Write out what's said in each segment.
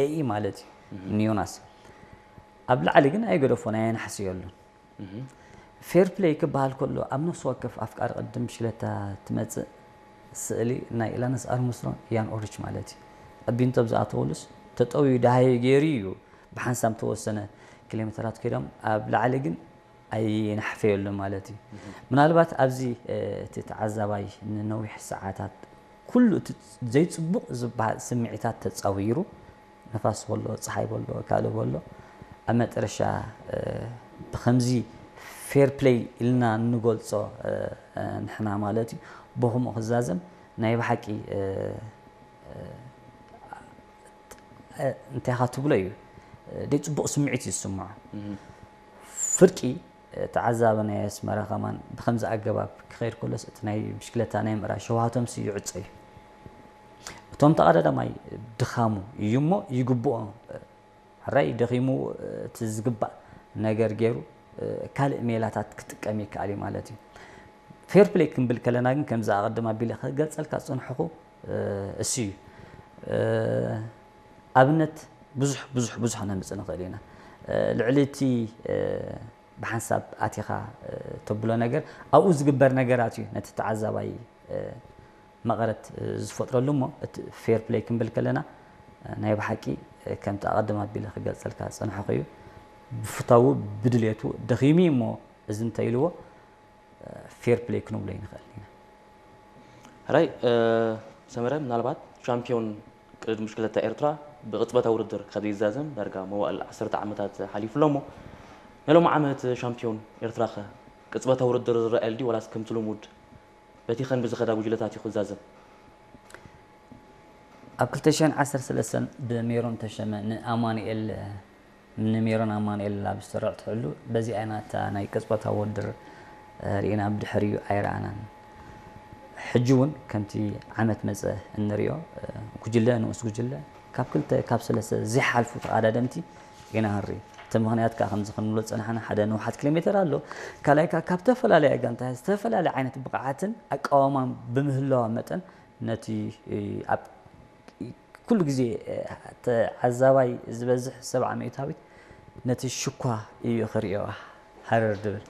ኤኢ ማለት እዩ ንዮናስ። ኣብ ላዕሊ ግን ኣይገደፎን፣ ኣየናሕስየሉን። ፌር ፕሌይ ክበሃል ከሎ ኣብ ነፍሲ ወከፍ ኣፍቃሪ ቅድድም ብሽክለታ ትመጽእ ስእሊ ናይ ኢላንስ ኣርምስትሮን ኢያን ኦልሪች ማለት እዩ። ኣብ ቢንቶ ኣብ ዝኣተወሉስ ተጠውዩ ደሃየ ገይሩ እዩ ብሓንሳብ ተወሰነ ኪሎ ሜተራት ከይዶም ኣብ ላዕሊ ግን ኣይናሕፈየሉን ማለት እዩ። ምናልባት ኣብዚ እቲ ተዓዛባይ ንነዊሕ ሰዓታት ኩሉ እቲ ዘይፅቡቕ ዝበሃል ስምዒታት ተፃዊሩ ንፋስ በሎ፣ ፀሓይ በሎ፣ ካልእ በሎ ኣብ መጠረሻ ብከምዚ ፌር ፕሌይ ኢልና እንገልፆ ንሕና ማለት እዩ ብከምኡ ክዛዘም ናይ ብሓቂ እንታይ ኢኻ ትብሎ እዩ ደይ ፅቡቕ ስምዒት እዩ ዝስምዖ። ፍርቂ ተዓዛቢ ናይ ኣስመራ ከማን ብከምዚ ኣገባብ ክኸይድ ከሎስ እቲ ናይ ብሽክለታ ናይ ምእራይ ሸውሃቶም ሲ ይዕፀ እዩ። እቶም ተቐዳዳማይ ድኻሙ እዩ እሞ ይግብኦ ሕራይ ደኺሙ እቲ ዝግባእ ነገር ገይሩ ካልእ ሜላታት ክጥቀም ይከኣል እዩ ማለት እዩ። ፌር ፕሌይ ክንብል ከለና ግን ከምዚ ኣቐድም ኣቢለ ክገልጸልካ ዝጸንሐኹ እሱ እዩ። ኣብነት ብዙሕ ብዙሕ ብዙሕ ነምጽእ ንኽእል ኢና። ልዕሊ እቲ ብሓንሳብ ኣቲኻ ተብሎ ነገር ኣብኡ ዝግበር ነገራት እዩ ነቲ ተዓዛባይ መቐረት ዝፈጥረሉ እሞ እቲ ፌር ፕሌይ ክንብል ከለና ናይ ብሓቂ ከምቲ ኣቐድም ኣቢለ ክገልጸልካ ዝጸንሐኹ እዩ። ብፍታዉ ብድሌቱ ደኺሙ እዩ እሞ እዚ እንተኢልዎ ፌር ፕሌይ ክንብሎ ይንኽእል ኢና። ሕራይ ሰመረ ምናልባት ሻምፒዮን ቅድድም ብሽክለታ ኤርትራ ብቕጽበታዊ ውድድር ካብ ዘይዛዘም ዳርጋ መዋእል ዓሰርተ ዓመታት ሓሊፉ ኣሎ እሞ ናይ ሎሚ ዓመት ሻምፒዮን ኤርትራ ኸ ቅጽበታዊ ውድድር ዝረኣየሉ ድዩ ዋላስ ከምቲ ልሙድ በቲ ኸንቢ ዝኸዳ ጉጅለታት እዩ ክዛዘም? ኣብ ክልተ ሽሕን ዓሰርተ ሰለስተን ብሜሮን ተሸመ ንኣማኑኤል ንሜሮን ኣማኑኤል ኣብ ዝተረዕትዕሉ በዚኣ ኢና እታ ናይ ቅጽበታዊ ውድድር ርኢና ብድሕሪኡ ኣይረኣናን። ሕጂ እውን ከምቲ ዓመት መጸ እንሪኦ ጉጅለ ንኡስ ጉጅለ ካብ ክልተ ካብ ሰለስተ ዘይሓልፉ ተቐዳደምቲ ኢና ክንርኢ። እቲ ምኽንያት ከኣ ከምዚ ክንብሎ ዝጸናሕና ሓደ ንውሓት ኪሎ ሜተር ኣሎ። ካልኣይ ከኣ ካብ ዝተፈላለያ ጋንታታት ዝተፈላለየ ዓይነት ብቕዓትን ኣቃውማን ብምህላዋ መጠን ነቲ ኣብ ኩሉ ግዜ ተዓዛባይ ዝበዝሕ ሰብዓ ሚእታዊት ነቲ ሽኳ እዩ ክርእዮ ሃረር ድብል።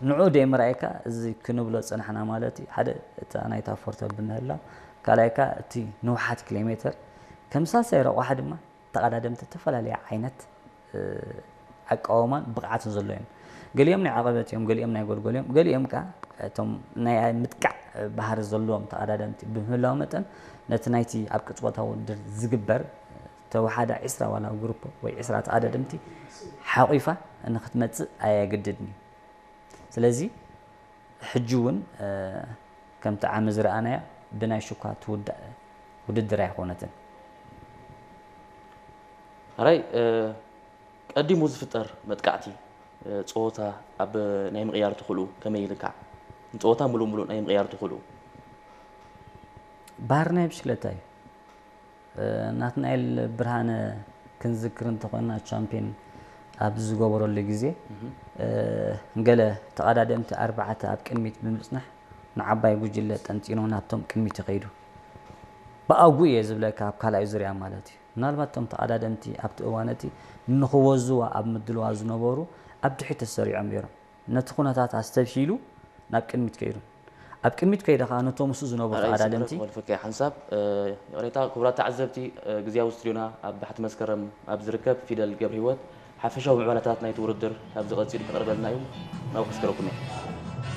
ንዑ ደይ ምርኣይካ እዚ ክንብሎ ዝጸናሕና ማለት እዩ። ሓደ እታ ናይታ ፎርቶ ብምህላው፣ ካልኣይ ከኣ እቲ ንውሓት ኪሎ ሜተር ከም ሳልሳይ ረቋሒ ድማ ተቐዳደምቲ ዝተፈላለየ ዓይነት ኣቃውማን ብቕዓትን ዘሎ እዮም። ገሊኦም ናይ ዓቐበት እዮም፣ ገሊኦም ናይ ጎልጎል እዮም፣ ገሊኦም ከኣ እቶም ናይ ምጥቃዕ ባህሪ ዘለዎም ተቐዳደምቲ ብምህላው መጠን ነቲ ናይቲ ኣብ ቅጽበታዊ ውድድር ዝግበር ተወሓዳ ዒስራ ዋላ ግሩፕ ወይ ዒስራ ተቐዳደምቲ ሓቒፋ ንክትመጽእ ኣየግድድን እዩ። ስለዚ ሕጂ እውን ከምቲ ዓሚ ዝረኣናያ ብናይ ሽኳ ትውዳእ ውድድር ኣይኮነትን። ሕራይ ቀዲሙ ዝፍጠር መጥቃዕቲ ጸወታ ኣብ ናይ ምቕያር ትኽእልኡ ከመይ ኢልካ ንጸወታ ምሉእ ምሉእ ናይ ምቕያር ትኽእልኡ? ባህሪ ናይ ብሽክለታ እዩ። ናትናኤል ብርሃነ ክንዝክር እንተኾንና ቻምፒዮን ኣብ ዝገበረሉ ግዜ ገለ ተቐዳደምቲ ኣርባዕተ ኣብ ቅድሚት ብምጽናሕ ንዓባይ ጉጅለ ጠንጢኑ ናብቶም ቅድሚት ይኸይዱ። ብኣጉ እየ ዝብለካ ኣብ ካልኣይ ዙርያ ማለት እዩ። ምናልባት እቶም ተቐዳደምቲ ኣብቲ እዋን እቲ ንኽወዝዋ ኣብ ምድልዋ ዝነበሩ ኣብ ድሕሪት ተሰሪዖም ነይሮም። ነቲ ኩነታት ኣስተብሂሉ ናብ ቅድሚት ከይዱ። ኣብ ቅድሚት ከይደ ከኣ ነቶም ምስኡ ዝነበሩ ተቐዳደምቲ ክመልፈካ ሓንሳብ ይቕሬታ ክቡራት ተዓዘብቲ ግዜያዊ ስቱድዮና ኣብ ባሕቲ መስከረም ኣብ ዝርከብ ፊደል ገብረ ህይወት ሓፈሻዊ ምዕባለታት ናይቲ ውድድር ካብዚ ቀጺሉ ክቐርበልና እዩ ናብ ክስከረኩም እየ